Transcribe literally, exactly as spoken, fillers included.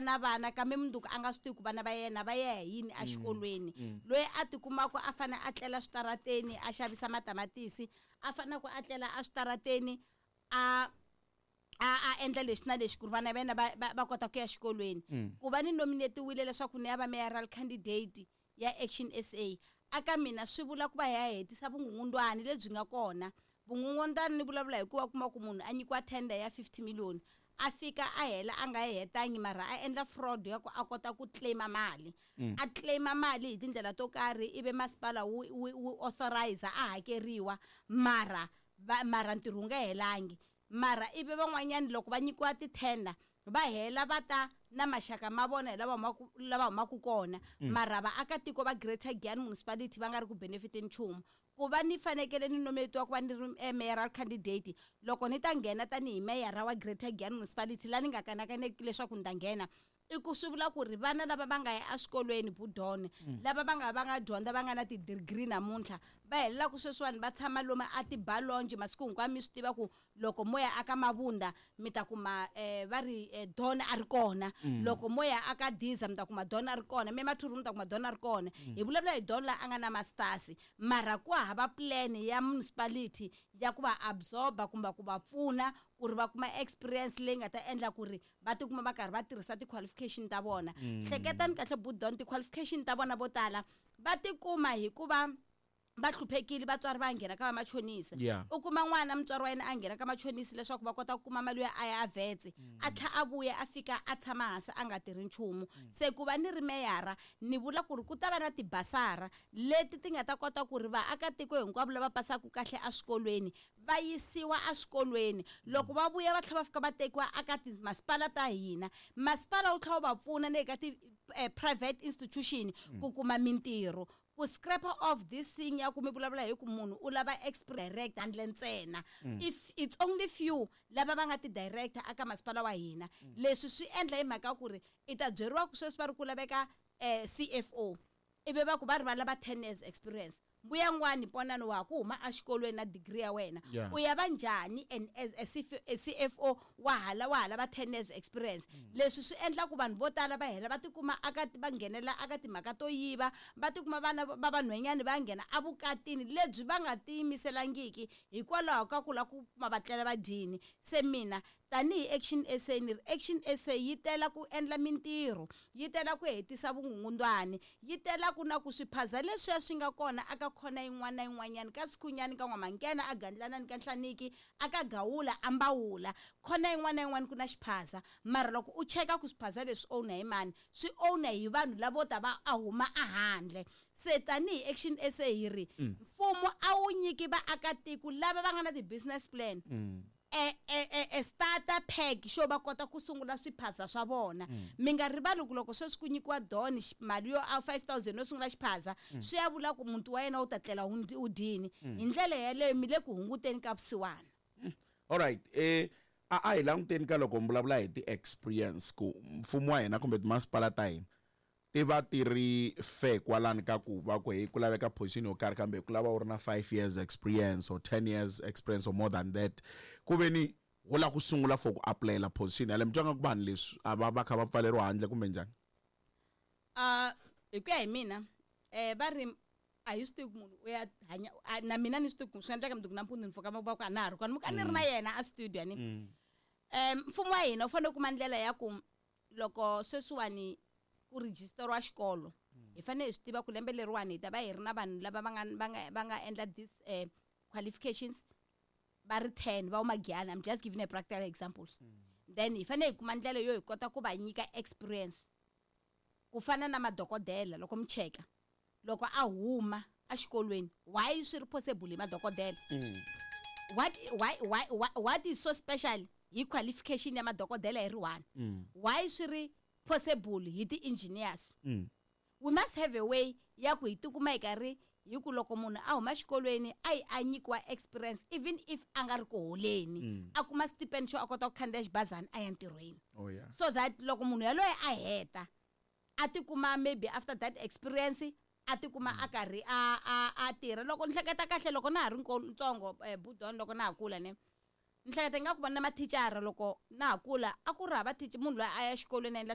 vuya na vana kambe mundzuku a nga swi tivi ku vana va yena va ya hi yini exikolweni. Loyi a tikumaka a fane a tlela switarateni a xavisa matamatisi, a fanele ku a tlela eswitarateni a a a endla lexi na lexi ku ri vana va yena va va va kota ku ya xikolweni. Ku va ni nominatiwile leswaku ni ya va mayoral candidate ya Action S A, aka mina swi vula ku va hi ya hetisa vungungundwani lebyi nga kona. Vungungundwani ni vulavula hi ku va kuma ku munhu a nyikiwa tender ya fifty million, a fika a hela a nga yi hetangi, mara a endla fraud ya ku a kota ku claima mali, a claima mali hi tindlela to karhi, ivi masipala wu wu wu authorize a hakeriwa, mara va mara ntirho wu nga helangi. Mara ivi van'wanyani loko va nyikiwa ti-tender, va hela va ta na maxaka ma vona hi lava humaku lava humaka kona, mara vaakatiko va Greater Giyani Municipality va nga ri ku benefiteni nchumu. Ku va ni fanekele ni nominatiwa ku va ni ri eh, mayoral candidate, loko ni ta nghena tanihi meyara wa Greater Giyani Municipality, laha ni nga kanakaneki leswaku ni ta nghena, i ku swi vula ku ri vana lava va nga ya eswikolweni, budone lava va nga va nga dyondza, va nga na ti-degree namuntlha, va helela ku sweswiwani va tshama lomu a tibalonji masiku hinkwawo. Mi swi tiva ku loko mo ya aka Mabunda, mi ta kuma um va ri eh, don a ri kona. Loko mo ya aka Diza, mi ta kuma don a ri kona. Mi Mathuru, mi ta kuma don a ri kona. Hi vulavula hi don la a nga na masters, mara ku hava plan ya municipality ya ku va absorba kumbe ku va pfuna ku ri va kuma experience leyi nga ta endla ku ri va tikuma va karhi va tirhisa ti-qualification ta vona. Hleketani kahle, budon, ti-qualification ta vona vo tala va tikuma hikuva va hluphekile, vatswari va nghena ka vamachonisi. Yeah. U kuma n'wana, mutswari wa yena a nghena ka machonisi leswaku va kota ku kuma mali yo a ya a vetse, a tlha a vuya, a fika a tshama hansi a nga tirhi nchumu. Se ku va ni ri meyara, ni vula ku ri ku ta va na tibasara leti ti nga ta kota ku ri vaakatiko hinkwavo lava pasaka kahle eswikolweni va yisiwa eswikolweni. Loko va vuya, va tlhela va fika va tekiwa aka timasipala ta hina, masipala wu tlhela wu va pfuna na le ka ti-private institution ku kuma mintirho, ku scrap off this thing ya ku mi vulavula hi ku munhu u lava experience handle ntsena. If it's only few lava va nga ti-director aka masipala wa hina. Leswi swi endla hi mhaka ku ri i ta byeriwa ku sweswi va ri ku laveka um C F O, ivi va ku va ri va lava ten years experience. Mbuya n'wani ponani wa ha ku huma exikolweni na degree ya wena, Yeah. u ya va njhani and as a C F a C F O wa hala wa ha lava ten years experience? Leswi swi endla ku vanhu vo tala va hela va tikuma aka va nghenela aka timhaka to yiva, va tikuma vana va vanhwanyani va nghena evukatini lebyi va nga tiyimiselangiki hikwalaho ka ku lava ku kuma va tlela va dyini. Se mina tanihi Action S A, ni ri Action S A yi tela ku endla mintirho, yi tela ku hetisa vungungundwani, yi tela ku na ku swiphaza leswiya swi nga kona aka khona yin'wana na yin'wanyana, ka Sikhunyani, ka N'wamankena, a Gandlanani, ka Nhlaniki, aka Gawula, Ambawula, khona yin'wana na yin'wana ku na xiphaza. Mara loko u cheka ku swiphaza leswi owner hi mani, swi owner hi vanhu lavo ta va a huma ahandle. Se tanihi Action S A hi ri mfumo a wu nyiki vaakatiko lava va nga na ti-business plan e, e, e, e starter pack xo va kota ku sungula swiphaza swa vona. Mi nga rivali ku loko sweswi ku nyikiwa don xi- mali yo a five thousand yo sungula xiphaza, swi ya vula ku muti wa yena wu ta tlela wu wu dyini. Hi ndlela yeleyo mi le ku hunguteni ka vusiwana. Alright, eh a a hi languteni ka loko mi vulavula hi ti-experience, ku mfumo wa hina kumbe timasipala ta hina ti va ti ri fair kwalani ka ku va ku hey, ku laveka position yo karhi, kambe ku lava u ri na five years experience or ten years experience or more than that, ku ve ni wo lava ku sungula for ku apulayela position yaleyo. Mi twa nga ku vanhu leswi a va va kha va pfaleriwa handle kumbe njhani? uh hi ku ya hi mina, eh va ri a hi swi tivi ku munhu u ya hanya a- na mina ni swi tivi ku swi endleka mundzuku nampundzu ni pfuka va ku a na ha ri kona, muka ni ri na yena a studio ni. um mfumo wa hina wu fanele ku kuma ndlela ya ku loko sweswiwani ku rejisteriwa xikolo, hi fanele hi swi tiva ku lembe leriwani hi ta va hi ri na vanhu lava va nga va nga va nga endla this eh, qualifications va ri ten, va huma Giyani. I'm just giving a practical examples. Then hi fanele hi kuma ndlela yo hi kota ku va nyika experience ku fana na madokodela. Loko mi cheka loko a huma exikolweni, why swi ri possible hi madokodela? what why why why what is so special hi qualification ya madokodela hi ri one? Why swi ri possible hi ti-engineers? We must have a way ya ku hi tikuma hi karhi hi ku loko munhu a huma xikolweni a yi a nyikiwa experience, even if a nga ri ku holeni, a kuma stipend xo a kota ku khandziya xibazana a ya ntirhweni, oh yeah so that loko munhu yaloye a heta a tikuma maybe after that experience a tikuma a karhi a a a tirha. Loko ni hleketa kahle, loko na ha ri nko- ntsongo, eh, budon, loko na ha kula, ne ni hleketa ingaku va na mathicara. Loko na ha kula a ku ri hava teacher, munhu loyi a ya xikolweni a endla.